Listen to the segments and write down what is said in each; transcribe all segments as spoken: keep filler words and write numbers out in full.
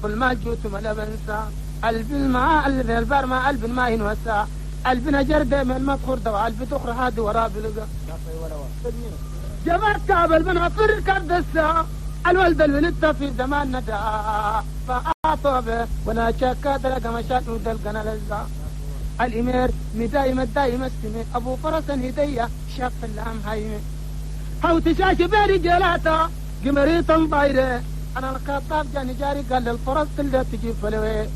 الماجوت ما بنسى قلب الماء قلب البر ما قلب ما ينوسع قلبنا جرد من مدخور دوا قلب تخر هادي ورا بلقى جبرت كابل من غفر كردسة الولد الولد في زمان ندى فأعطى ولا شكا دلق مشاك ودلقنا لزا الإمير مدايم الدايم السمي أبو فرس هدية شاف اللام هايمي هاو تشاش بيري جلاتا قمريت ضايرة أنا الخطاب جاني جاري قال للفرس اللي تجيب فلوي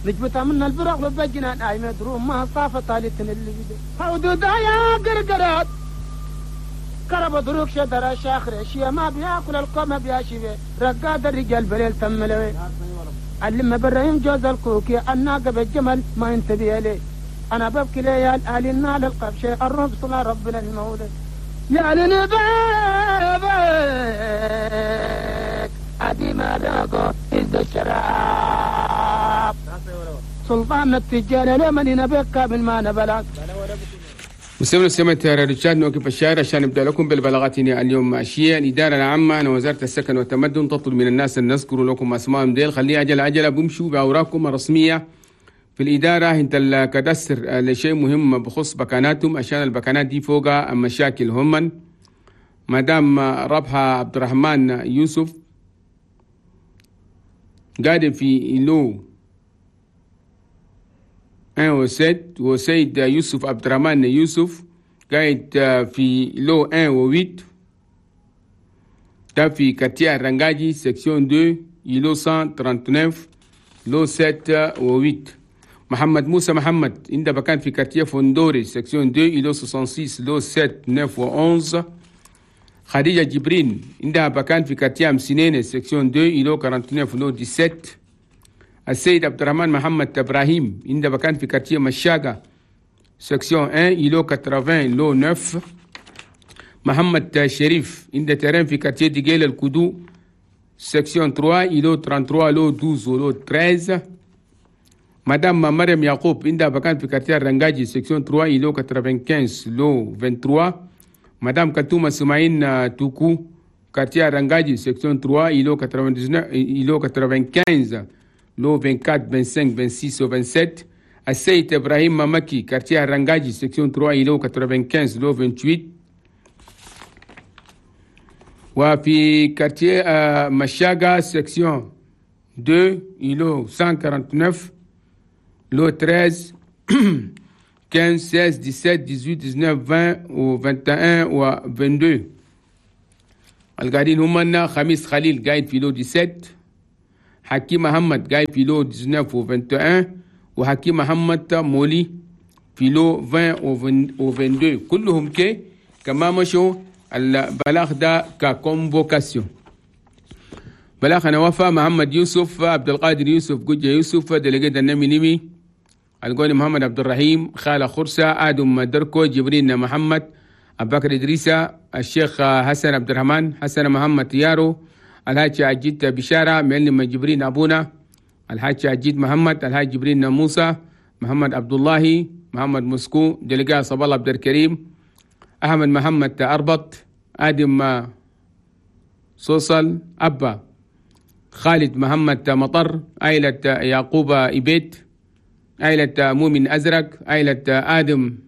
نجبتها من البرق ببجنا نايمة دروم ما صافة طالتن اللي بدي هاو دودايا قرقرات كرب دروك شدر شاخر شيا ما بياكل القوم بياشبه رقاد الرجال بليل تملوي علم براهيم جوز الكوكي الناقة بالجمل ما انتبه لي انا ببكي ليال اهل النال القبشة الرب صلى ربنا المولد يا لنبابك ادي ما لاقو إذ الشراب سلطان التجار لمن نبكى من ما نبلغ. مستمعينا سمعت رشاد نوقف الشارع عشان نبدا لكم بالبلاغات اليوم ماشية. الادارة العامة عن وزارة السكن والتمدن تطلب من الناس ان نذكر لكم اسمائهم ديل، خليه عجله عجله بمشوا باوراقكم الرسمية في الادارة. انت الكدستر لشيء مهم بخص بكاناتهم عشان البكانات دي فوق مشاكل هم. مدام ربحة عبد الرحمن يوسف قاعد في lot واحد وست، وسيد يوسف عبد الرحمن يوسف قاعد في lot واحد و ثمانية ده في quartier رنجاجي section اثنين îlot مية وتسعة وثلاثين lot سبعة و ثمانية. محمد موسى محمد عند بكان في quartier فندوري section اثنين îlot ستة وستين lot سبعة تسعة و عشرة. خديجة جبرين عندها بكان في quartier أمسنين section اثنين îlot تسعة وأربعين lot سبعة عشر. السيد عبد الرحمن محمد ابراهيم عند بكان في quartier مشاقة section واحد îlot ثمانين lot تسعة. محمد شريف عند terrain في quartier ديجيل الكدو section ثلاثة îlot ثلاثة وثلاثين lot اثنا عشر و lot ثلاثة عشر. مدام مريم يعقوب عندها بكان في quartier رنجاجي section ثلاثة îlot خمسة وتسعين lot ثلاثة وعشرين. مدام كتومة سماعين توكو quartier رنجاجي section ثلاثة îlot تسعة وثمانين îlot خمسة وتسعين lot أربعة وعشرين خمسة وعشرين ستة وعشرين و سبعة وعشرين. السيد ابراهيم مامكي quartier رنجاجي section ثلاثة îlot خمسة وتسعين lot ثمانية وعشرين. وفي quartier مشاقة section اثنين îlot مية وتسعة وأربعين lot ثلاثة عشر خمسة عشر ستة عشر سبعة عشر تسعة عشر عشرين و واحد وعشرين و اثنين وعشرين. القاعدين هم خميس خليل قاعد في lot سبعة عشر، حكيم محمد قاعد في lot تسعة عشر و واحد وعشرين، وحكيم محمد مولي في lot عشرين و اثنين وعشرين. كلهم كي كما مشوا البلاغ ده ك convocation. بلاغ انا وفا محمد يوسف عبد القادر يوسف جوجة يوسف délégué النمي نمي القوني محمد عبد الرحيم خالة خرسة آدم دركو جبرين محمد أبو بكر إدريسة الشيخ حسن عبد الرحمن حسن محمد يارو الحاج عجيد بشارة معلم جبرين أبونا الحاج عجيد محمد الحاج جبرين موسى محمد عبد الله محمد مسكو délégué صبا الله عبد الكريم أحمد محمد أربط آدم صوصل أبا خالد محمد مطر عائلة يعقوب إبيت عائلة مؤمن أزرق عائلة آدم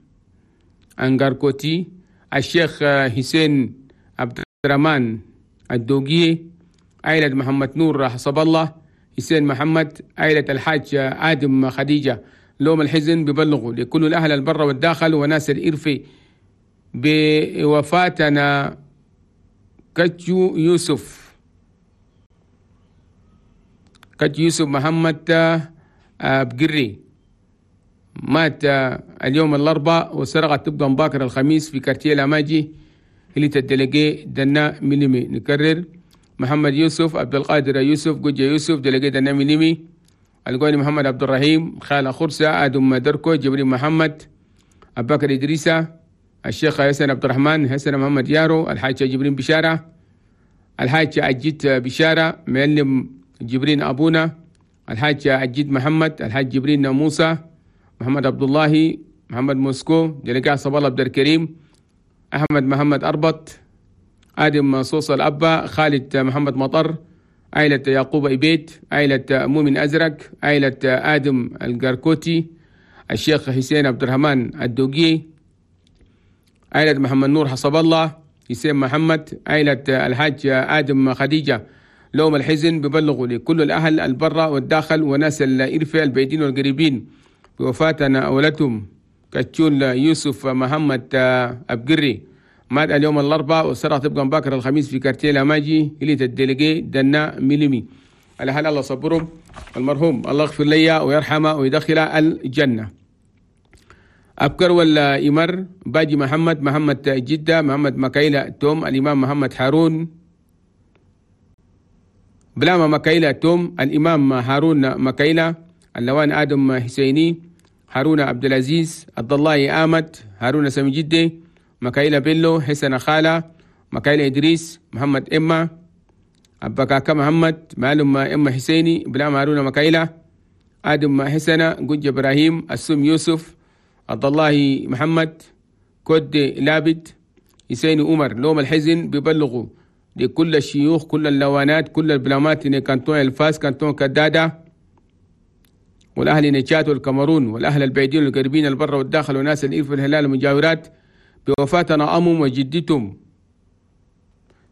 أنغاركوتي الشيخ حسين عبد الرحمن الدوقي عائلة محمد نور حسب الله حسين محمد عائلة الحاج آدم خديجة. لوم الحزن ببلغوا لكل الأهل البر والداخل وناس الإرفي بوفاتنا كتشو يوسف كتشو يوسف محمد بقري مات اليوم الأربعاء وسرقت تبقى مباكر الخميس في quartier لاماجي اللي ال délégué دنا ميليمي. نكرر محمد يوسف عبد القادر يوسف جوجة يوسف délégué دنا ميليمي القوني محمد عبد الرحيم خالة خرسة آدم دركو جبريل محمد أبو بكر إدريسة الشيخ حسن عبد الرحمن حسن محمد يارو الحاج جبرين بشارة الحاج عجيت بشارة معلم جبرين أبونا الحاج عجيد محمد الحاج جبرين موسى محمد عبد الله محمد موسكو délégué صبا الله عبد الكريم أحمد محمد أربط آدم صوص الأبا خالد محمد مطر عائلة يعقوب إبيت، عائلة مؤمن أزرق، عائلة آدم القركوتي، الشيخ حسين عبد الرحمن الدوقي، عائلة محمد نور حسب الله، حسين محمد، عائلة الحاج آدم خديجة. لوم الحزن ببلغوا لكل الأهل البرة والداخل وناس الإرفة البعيدين والقريبين بوفاتنا أولتهم كتشول يوسف محمد أبقري، مات اليوم الأربعاء والسرعة تبقى باكر الخميس في كارتيه لاماجي إلي الدلقي دنا ميلمي. على حال الله صبرهم المرحوم، الله يغفر لي ويرحمه ويدخله الجنة. أبكر ولا إمر باجي محمد، محمد جدة، محمد مكايلة توم، الإمام محمد هارون بلاما مكايلة توم، الإمام هارون مكايلة، اللوان آدم حسيني، هارون عبد العزيز، عبد الله آمد، هارون سامي جدي، مكايلة بيلو، حسن خالة، مكايلة إدريس، محمد إما، أبكاكا محمد، معلم إما حسيني، بلاما هارون مكايلة، آدم حسنة، جوج إبراهيم، السم يوسف، عبد الله محمد، كود لابد، حسين عمر. لوم الحزن ببلغوا لكل الشيوخ، كل اللوانات، كل البلامات، كانتون الفاس، كانتون كدادة، والأهل نجات والكاميرون، والأهل البعيدين والقريبين البر والداخل، وناس الإرف والهلال المجاورات بوفاتنا أمهم وجدتهم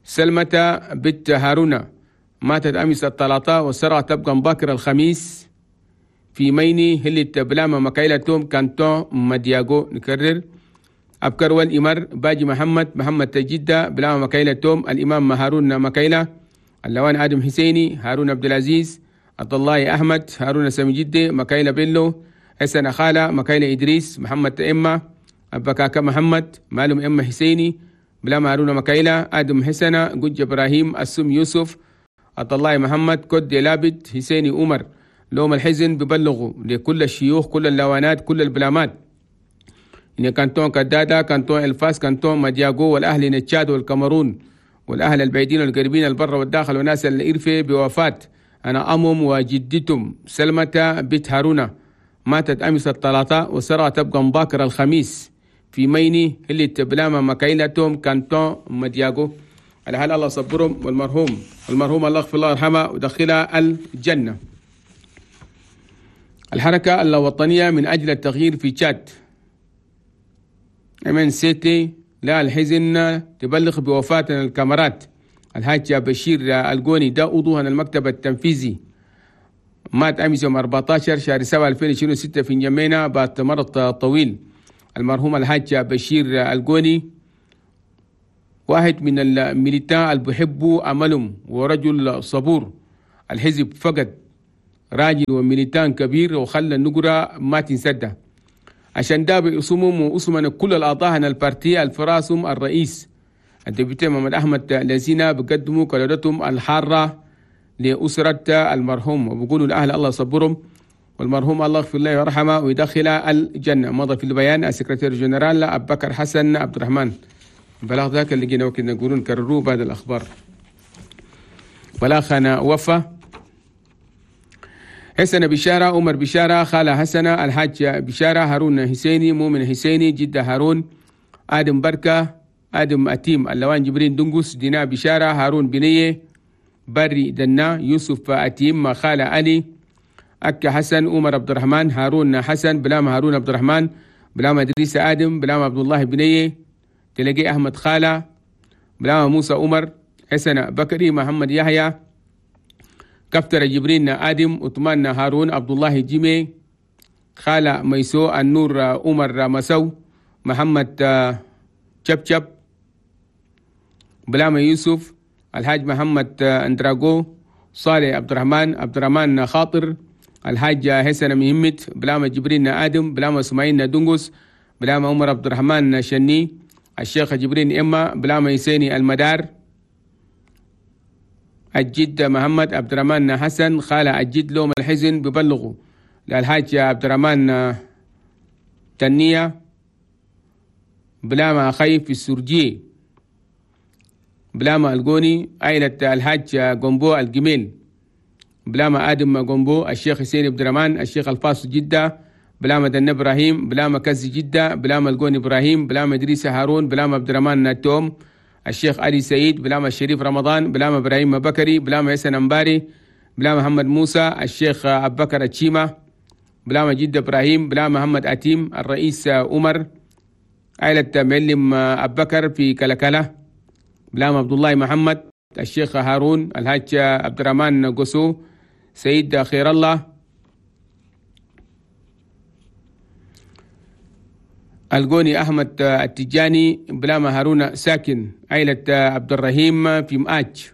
سلمة بنت هارون، ماتت أمس الثلاثاء والسرعة تبقى مبكر الخميس في ميني هلة بلاما مكايلة توم كانتون مدياغو. نكرر أبكر والإمر باجي محمد، محمد تجدة، بلاما مكايلة توم، الإمام هارون مكايلة، اللوان آدم حسيني، هارون عبد العزيز، عبد الله أحمد، هارون سامي جدة، مكايلة بيلو، حسن خالة، مكايلة إدريس، محمد إما، أبكاكا محمد، معلم إما حسيني، بلاما هارون مكايلة، آدم حسنة، جوج إبراهيم، السم يوسف، عبد الله محمد، كود لابد، حسيني عمر. لوم الحزن ببلغوا لكل الشيوخ، كل اللوانات، كل البلامات، إن كانتون كدادة، كانتون الفاس، كانتون مدياغو، والأهل نتشاد والكاميرون، والأهل البعيدين والقريبين البر والداخل، وناس الإرفة بوفاة أنا أمم وجدتهم سلمة بنت هارون، ماتت أمس الثلاثاء والسرعة تبقى مباكر الخميس في ميني اللي تبلاما مكايلتهم كانتون مدياغو. على حال الله صبرهم والمرحوم المرحوم الله يغفر الله يرحمه ودخلها الجنة. الحركة الوطنية من أجل التغيير في تشاد إم إن سي تي لا الحزن تبلغ بوفاة الكاميرات الحاج بشير الجوني، ده عضو المكتب التنفيذي، مات أمس يوم أربعة عشر شهر سبعة ألفين وستة في نجمينا بعد مرض طويل. المرحوم الحاج بشير الجوني واحد من ال militants اللي بيحبوا عملهم ورجل صبور. الحزب فقد راجل و militant كبير وخلى النقرة ما تنسده، عشان ده باسمهم واسمنا كل الأعضاء ال parti الفراسم الرئيس ال député محمد أحمد الذين بقدموا قلادتهم الحارة لأسرة المرحوم، وبقولوا الأهل الله يصبرهم والمرحوم الله يغفر له ويرحمه ويدخله الجنة. مضى في البيان ال secrétaire général أبو بكر حسن عبد الرحمن. بلاغ ذاك اللي جينا وكنا نقولون كرروه بعد الأخبار. بلاغنا وفا حسن بشارة، عمر بشارة، خالة حسنة، الحاج بشارة، هارون حسيني، مؤمن حسيني، جدة هارون، آدم بركة، آدم أتيم، اللوان جبرين دنقس، دينا بشارة، هارون بنية، بري دنا، يوسف أتيم، خالة علي، أكا حسن، عمر عبد الرحمن، هارون حسن، بلام هارون عبد الرحمن، بلام إدريس آدم، بلام عبد الله بنية، تلاقي أحمد خالة، بلام موسى عمر، حسن بكري، محمد يحيى، كفتر جبرين آدم، عثمان هارون، عبد الله جيمي، خالة ميسو، النور عمر مسو، محمد شبشب، بلام يوسف، الحاج محمد اندراغو، صالح عبد الرحمن، عبد الرحمن خاطر، الحاج حسن مهمت، بلام جبرين آدم، بلام اسماعيل دنقس، بلام عمر عبد الرحمن شني، الشيخ جبرين إما، بلام يسيني المدار، الجد محمد عبد الرحمن حسن، خالة الجد لوم الحزن ببلغوا للحاج عبد الرحمن تنية، بلاما خيف في السرجي، بلاما الجوني، عائلة الحاج جنبو الجميل، بلاما آدم جنبو، الشيخ حسين عبد الرحمن، الشيخ الفاس جدة، بلاما دن إبراهيم، بلاما كز جدة، بلاما الجوني إبراهيم، بلاما إدريس هارون، بلاما عبد الرحمن توم، الشيخ علي سعيد بلاما الشريف رمضان بلاما إبراهيم بكري بلاما يسن أمباري بلاما محمد موسى الشيخ أبو بكر التشيمة بلاما جد إبراهيم بلاما محمد أتيم الرئيس عمر عائلة معلم أبو بكر في كلكلة بلاما عبد الله محمد الشيخ هارون الحاج عبد الرحمن قسو سيد خير الله القوني أحمد التجاني بلاما هارون ساكن عائلة عبد الرحيم في مآج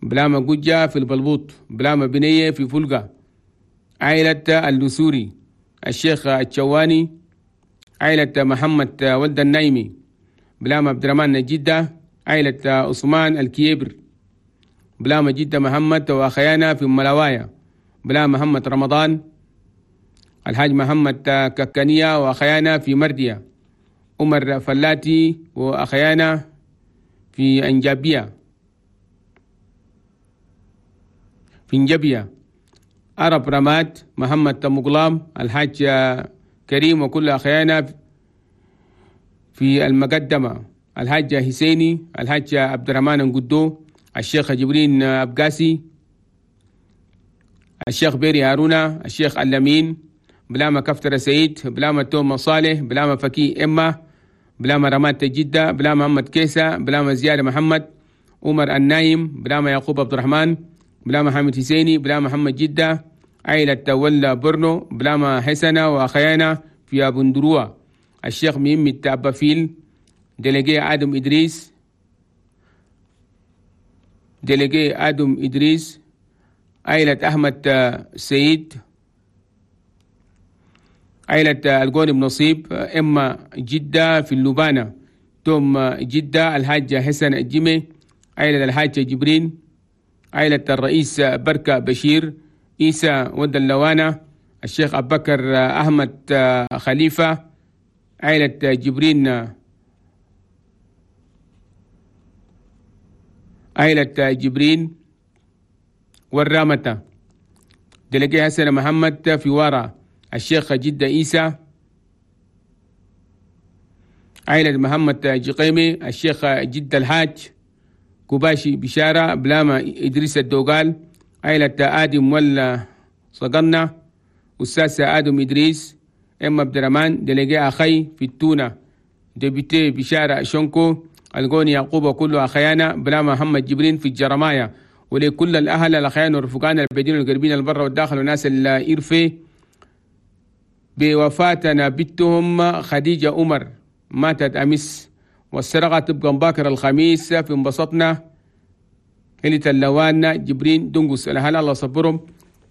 بلاما قجة في البلبوط بلاما بنية في فلقة عائلة اللسوري الشيخ الشواني عائلة محمد ولد النايمي بلاما عبد الرحمن جدة عائلة عثمان الكيبر بلاما جدة محمد وأخيانا في ملاوايا بلاما محمد رمضان الحاج محمد ككانية وأخيانا في مردية عمر فلاتي وأخيانا في أنجابية في انجبية عرب رماد محمد مقلام الحاج كريم وكل أخيانا في المقدمة الحاج حسيني الحاج عبد الرحمن قدو الشيخ جبرين أبقاسي الشيخ بيري هارونا الشيخ اللمين بلاما كفتر سعيد بلاما توم صالح بلاما فكي إما بلاما رمات جدة بلاما محمد كيسة بلاما زيادة محمد عمر النايم بلاما يعقوب عبد الرحمن بلاما حامد حسيني بلاما محمد جدة عائلة ولا برنو بلاما حسنة وأخيانا في أبندروة الشيخ ميمي التعبافيل délégué آدم إدريس délégué آدم إدريس عائلة أحمد سعيد عائلة القوني بنصيب إما جدة في اللبانة توم جدة الحاجة حسن الجمي عائلة الحاجة جبرين عائلة الرئيس بركة بشير إيسى ود اللوانة الشيخ أبو بكر أحمد خليفة عائلة جبرين عائلة جبرين والرامتة délégué حسن محمد في وارا الشيخ جدة إيسى عائلة محمد جقيمي الشيخ جدة الحاج كوباشي بشارة بلاما إدريس الدوغال عائلة آدم ولا صقنا أستاذ آدم إدريس إما عبد الرحمن délégué أخي في التونة député بشارة شنكو القوني يعقوب وكل أخيانا بلاما محمد جبرين في الجرمايا ولكل الأهل الأخيان والرفقان البعيدين والقريبين البر والداخل وناس الإرفي بوفاتنا بنتهم خديجة عمر ماتت أمس والسرقة تبقى مباكر الخميس في انبسطنا هلة اللوان جبرين دنقس الأهل الله صبرهم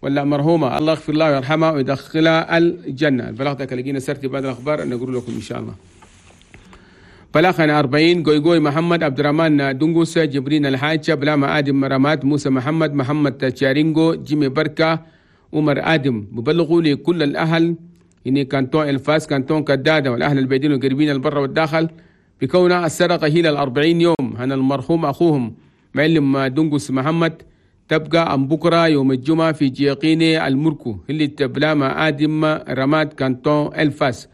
ولا مرحومة الله يغفر الله ويرحمها ويدخلها الجنة. البلاغ ده لقينا سرتي بعد الأخبار نقول لكم إن شاء الله. بلاغنا أربعين قوي محمد عبد الرحمن دنقس جبرين الحاج بلاما آدم رماد موسى محمد محمد تشارينجو جيمي بركة عمر آدم ببلغوا لكل الأهل إني كانتون الفاس كانتون كدادة والأهل البعيدين والقريبين البر والداخل بكون السرقة هي الأربعين يوم هنا المرحوم أخوهم معلم دنقس محمد تبقى أم بكرة يوم الجمعة في جيقيني المركو اللي تبلاما آدم رماد كانتون الفاس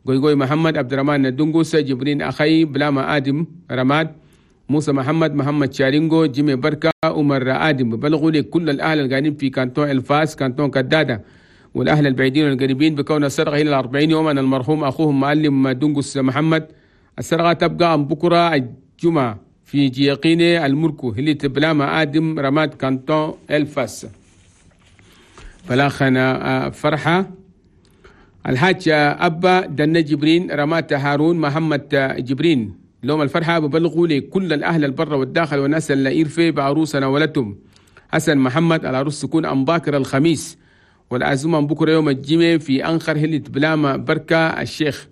قوي محمد عبد الرحمن دنقس جبرين أخي بلاما آدم رماد موسى محمد محمد شارينجو جيمي بركة عمر آدم بلغوا لكل الأهل القاعدين في كانتون الفاس كانتون كدادة والأهل البعيدين والقريبين بكون السرقة إلى الأربعين يوما المرحوم أخوهم معلم دنقس محمد السرقة تبقى أم بكرة الجمعة في جيقيني المركو اللي تبلاما آدم رماد كانتون الفاس. بلاخنا فرحة الحاج أبا دنا جبرين رمات هارون محمد جبرين لوم الفرحة ببلغوا لكل الأهل البر والداخل والناس اللي إرفي بعروسنا ولدتم حسن محمد العروس تكون أم باكر الخميس والعزومة بكرة يوم الجمعة في أنخر هلة بلاما بركة الشيخ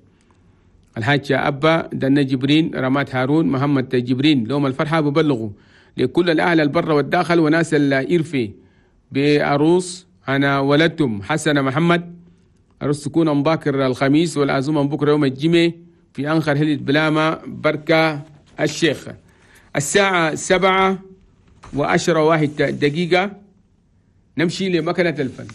الحاج أبا دنا جبرين رمات هارون محمد جبرين لوم الفرحة ببلغوا لكل الأهل البر والداخل وناس الإرفي بعروس أنا ولدتم حسن محمد عروس تكون أم باكر الخميس والعزومة بكرة يوم الجمعة في أنخر هلة بلاما بركة الشيخ. الساعة سبعة وعشرة واحد دقيقة نمشي لمكنة الفن.